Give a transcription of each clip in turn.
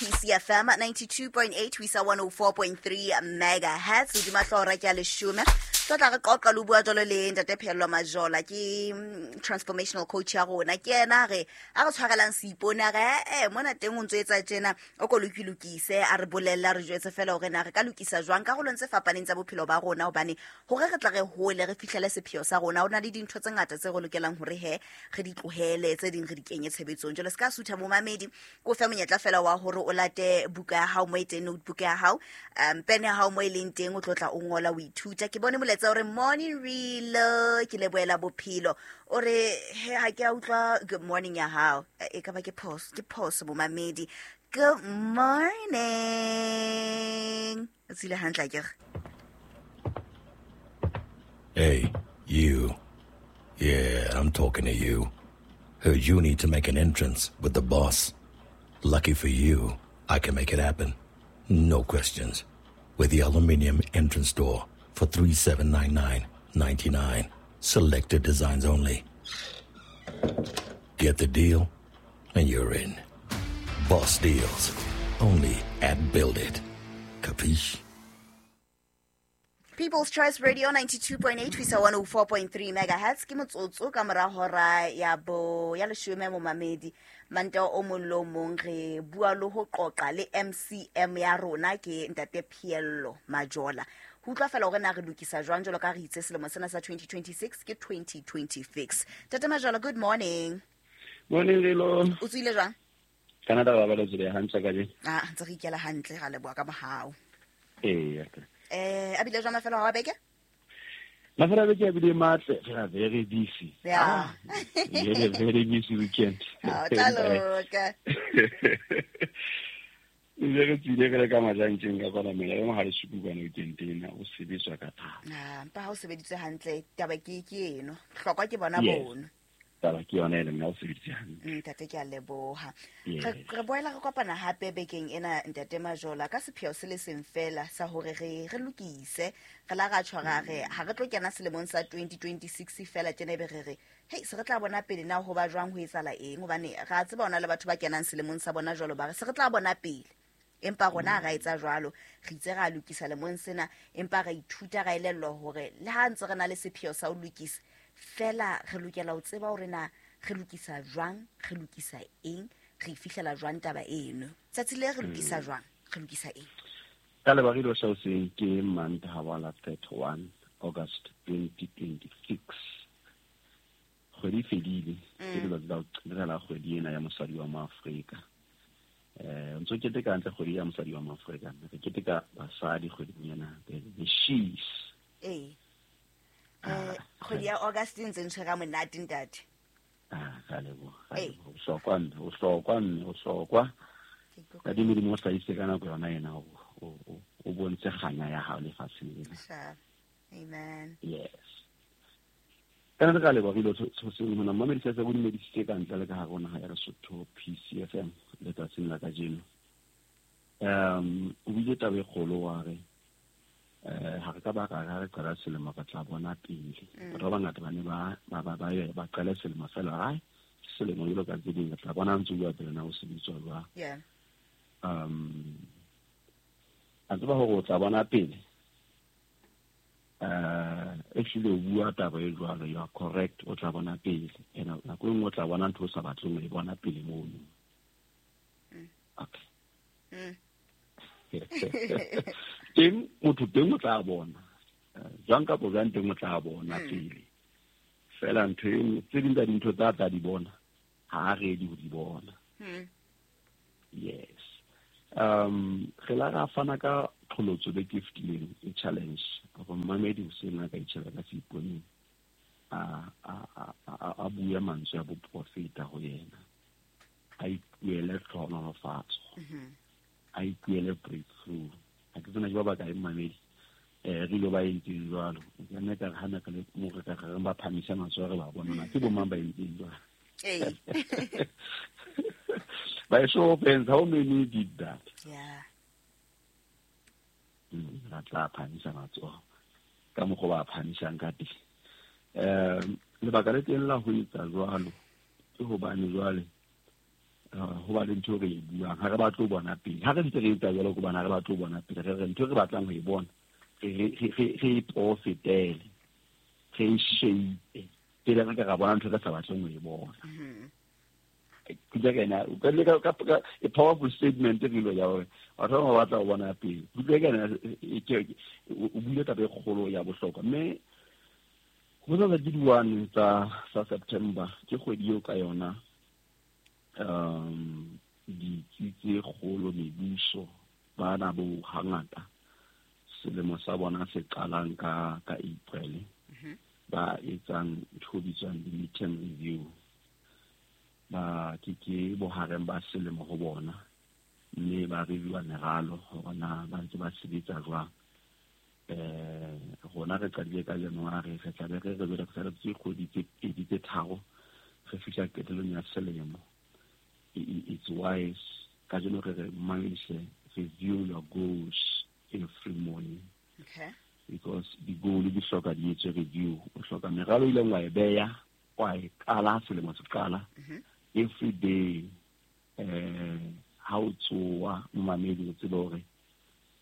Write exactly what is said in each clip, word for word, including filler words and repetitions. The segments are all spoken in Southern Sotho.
P C F M ninety-two point eight ho isa one oh four point three megahertz. Hodima hlooho ke a leshome. Tlo tla re qoqa le bua jwalo le Ntate Phehello Majola, ke transformational coach ya rona. Ke yena re a re tshwarelang seipone, a re eh mona teng o ntso etsa tjena, o ko lokilokise, a re bolella, re jwetse fela hore na re ka lokisa jwang karolong tse fapaneng tsa bophelo ba rona, hobane hore re tla re hole re fihlele sepheo sa rona, ho na le dintho tse ngata tse re lokelang hore he re di tlohele, tse ding re di kenye tshebetsong. Jwale se ka sutha momamedi, ko fe monyetla fela wa hore o late buka ya hao mo e teng, notebook ya hao, um pene ya hao mo e leng teng, o tlo tla o ngola o ithuta. Ke bone molaetsa o re morning relo, ke lebohela bophelo. O re he ha ke a utlwa good morning ya hao, e ka ba ke phoso, ke phoso momamedi. Good morning. O tsile hantle akere? Hey, you. Yeah, I'm talking to you. Heard you need to make an entrance with the boss. Lucky for you, I can make it happen. No questions. With the aluminium entrance door for three seven nine nine ninety-nine. Selected designs only. Get the deal and you're in. Boss deals. Only at Build It. Capiche? People's Choice Radio ninety-two point eight, ho isa one oh four point three megahertz. Ke motsotso ka mora hora ya bo ya leshome momamedi. Mantaha o mong le o mong re bua le ho qoqa le M C M ya rona, ke Ntate Phehello Majola. Ho utlwa fela hore na re lokisa jwang jwalo ka re itse selemo sena sa twenty twenty-six ke twenty twenty-six. Ntate Majola, good morning. Morning, Lelo. O tswile jwang? Canada ba ba tswile hantle ka je. Ah, ntse re ikela hantle, ra leboha ka mohau. Eh, Eh, a bile jwang mafelo a beke? Mafelo a beke a bile matle, re are very busy. Yeah. Ah, very, very busy weekend. Oh, tla loka. Re tsile re le ka majantjeng ka kwana mela, re mohale suku kwana weekend ena, o sebetswa ka thata. Ah, mpa ha o sebeditse hantle, taba ke ke eno. Hlokwa ke bona Yes. bono. Taba ke yona e leng ha o sebeditse hantle. Ntate, ke a leboha. Yes. Re, re boela re kopana hape bekeng ena, Ntate Majola, ka sepheo se le seng fela sa hore re, re lokise. Re la ra tjho ra re ha re tlo kena selemong sa twenty twenty-six fela tjena ebe re re, hei, se re tla bona pele na ho ba jwang, ho etsahala eng, hobane re a tseba hona le batho ba kenang selemong sa bona jwalo ba re se re tla bona pele. Empa rona ha ra etsa jwalo, re itse ra lokisa lemong sena, empa ra ithuta, ra elellwa hore le ha ntse re na le sepheo sa ho lokisa, fela re lokela ho tseba hore na re lokisa jwang, re lokisa eng, re fihlela jwang taba eno. Tsatsi le re lokisa Mm. jwang, re lokisa eng? Ka lebaka le sa hoseng ke Mantaha wa la thirty-one August twenty twenty-six. Kgwedi e fedile, ke Mm. letsatsi la ho qetela la kgwedi ena ya mosadi wa Moafrika. Eh, ntso keteka hantle kgwedi ya mosadi wa Moafrika. Re keteka basadi kgweding ena, the, the she's. Eh. Eh, kgwedi ya August e ntse ntshwere monate, ntate. Ah, ka leboha, ka Ee. leboha. O hlokwa mme, o hlokwa mme, o hlokwa. Ke ikutlwa Ka Modimo o hlahise ka nako yona ena, o, o, o, o bontshe kganya ya hao lefatsheng lena. Sharp. Amen. Yes. Ka nna ka leboha re ile tshoseng hona, mmamedi se se bodumedisitse ka ntle le ka hare ho naha ya Lesotho, P C F M letsatsing la kajeno. Um, o buile taba e kgolo wa re, eh, ha re ka ba ka re qala selemo re tla bona pele. Mm. Batho ba bangata ba ne ba, ba, ba, ba, ba qala selemo fela, hai, selemo jwalo ka tse ding, re tla bona ntse o bua pele na o sebetswa jwang. Yeah. Um, a tseba hore o tla bona pele. Eh, actually o bua taba e jwalo, you are correct, o tla bona pele. Ena nako e nngwe o tla bona ntho o sa batleng ho e bona pele mono. Mm. Okay. Mm. Teng motho teng o tla bona. Eh, jwang kapa jwang teng o tla bona Mm. pele. Fela ntho e nngwe, tse ding tsa dintho tsa tla di bona, ha a ready ho di bona. Mm. Yes. Um, re la ra fana ka qholotso beke e fetileng, e challenge, hore mmamedi hoseng a ka itjheba ka seiponeng, a, a, a, a, a bue mantswe a boprofeta ho yena. A ipuele tlhohonolofatso. Mm-hmm. A ipuele breakthrough. Ha ke tsena ke ba bakae mmamedi, eh, re ilo ba entseng jwalo. Ke nna ka re ha nako le mo re ka re ba phamisa matsoho re ba bona na ke bo mang ba entseng jwalo. Ee. By show of hands, how many did that? Yeah. Mm, ra tla phamisa matsoho ka mokgwa ba phamisang ka teng. Um, lebaka le teng la ho etsa jwalo ke hobane jwale, ho ba le ntho re e buang ha re batle ho bona pele ha re ntse re etsa jwalo hobane ha re batle ho bona pele re re ntho re batlang ho e bona re re re e profitele re e shape pele re ka ra bona ntho re sa batleng ho e bona. Ke a powerful statement re lo ya hore batho ba batla ho bona pele. Ke o buile taba e kgolo ya bohlokwa mme ho tsatsa ke di-one tsa tsa September ke kgwedi eo ka yona um ditsi tse kgolo mebuso bana bo hangata selemo sa bona se qalang ka ka April ba etsang ntho bitswang di-midterm review ba ke ke bohareng ba selemo ho bona mme ba reviewa meralo hore na ba ntse ba sebetsa jwang. Eh rona re qadile ka January re tla be re re re tse kgwedi tse pedi tse tharo re fihla qetellong ya selemo. It's wise kajeno re re mindset review your goals every morning. Okay. Because the goal di hloka di etswe review o hloka meralo ile wa e beya wa e qala selemo se qala every day eh ha o tsoa momamedi o tsebe hore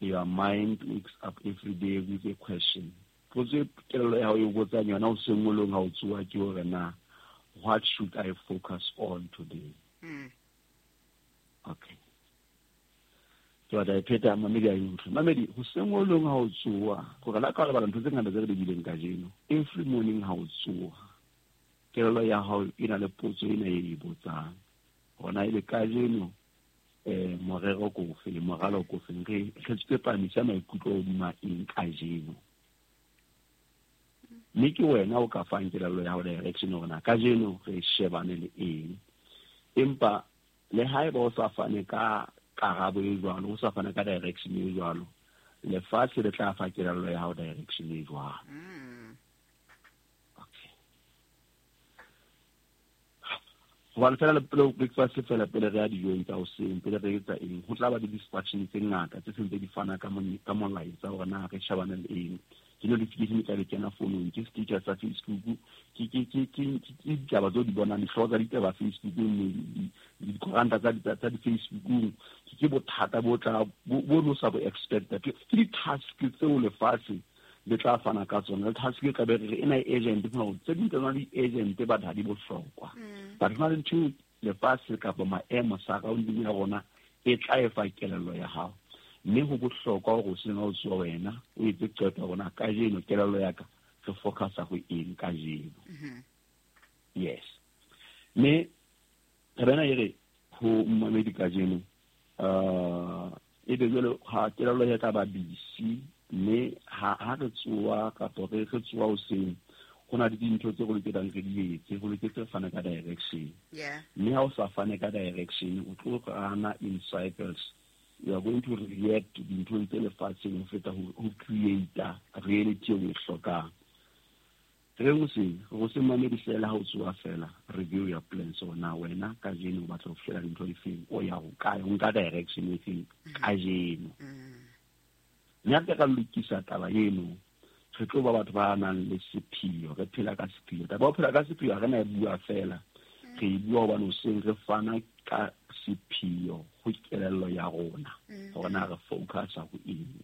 your mind wakes up every day with a question. Potso kelello ya hao e botsang yona o sengolong ha o tsoa ke hore na what should I focus on today? Mm. Okay. Ke batla e pheta mamedi a utlwe. Mamedi ho sengolong ha o tsoa gore la ka lebala ntho tse ngata tse re di bileng kajeno. Every morning ha o tsoa kelello ya hao e na le potso ena e e botsang. Hona e le kajeno eh morero ko fe moralo ko fe re re tsepamisa maikutlo hodima eng kajeno. Mme ke wena o ka fang kelello ya hao direction hore na kajeno re shebane le eng. Empa le haeba o sa fane ka karabo e jwalo o sa fane ka direction e jwalo lefatshe le tla fa kelello ya hao direction e jwalo. Okay. Hobane fela le pele breakfast fela pele re ya dijong tsa hoseng pele re etsa eng ho tla ba le distraction tse ngata tse sentse di fana ka ka molaetsa hore na re shebane le eng. Ke notification e tla be kena founong ke status sa Facebook ke ke ke ke ke ditaba tseo di bonang dihlooho tsa ditaba Facebookong dikoranta tsa tsa di-Facebookong ke ke bothata bo tla bo no sa bo expecta ke di-task tseo lefatshe le tla fana ka tsona le task e tla be re ena e agent no tse ding tsa tsona di-agent ba ha di bohlokwa but hona le ntho lefatshe kapa maemo surrounding ya rona e tla e fa kelello ya hao mme ho bohlokwa hore o sena o tsoa wena o etse qeto ya rona kajeno kelello ya ka re focusa ho eng kajeno. Yes. Mme taba ena e re ho mmamedi kajeno uh e be jwalo ha kelello ya tla ba busy mme ha ha re tsoa kapa re re tsoa hoseng ho na le dintho tse re lokelang re di etse ho loketse fana ka direction. Yeah. Mme ha o sa fane ka direction o tlo rana in cycles. You are going to react to dinthong tse lefatsheng ho feta ho create reality eo e hlokang. Re hoseng ho se mamedi fela ha o tsoa fela review your plans so na wena kajeno o batla ho fihlela dintho difeng o ya ho kae o nka direction e feng kajeno. Mme ha re ka lokisa taba eno re tlo ba batho ba nang le sepheo re phela ka sepheo. Taba ho phela ka sepheo ha re na e bua fela re e bua hobane hoseng re fana ka sepheo ho kelello ya rona hore na re focusa ho eng.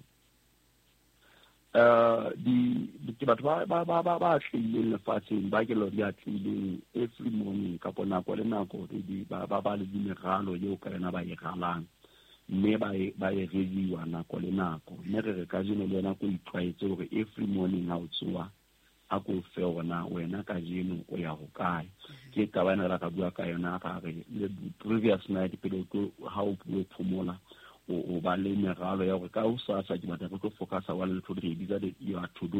Uh di ke batho ba ba ba ba ba atlehileng lefatsheng ba kelello di atlehileng every morning kapo nako le nako di ba ba ba le dimeralo eo ka yona ba e ralang mme ba e ba e reviewa nako le nako mme re re kajeno le wena ko itlwaetse hore every morning ha o tsoa a ko fe hore wena kajeno o ya ho kae. Ke taba ena re ka bua ka yona ka re le previous night pele ha o phomola o ba le meralo ya hore ka hosasa ke batla re tlo focusa wa le ntho re bitsa your to do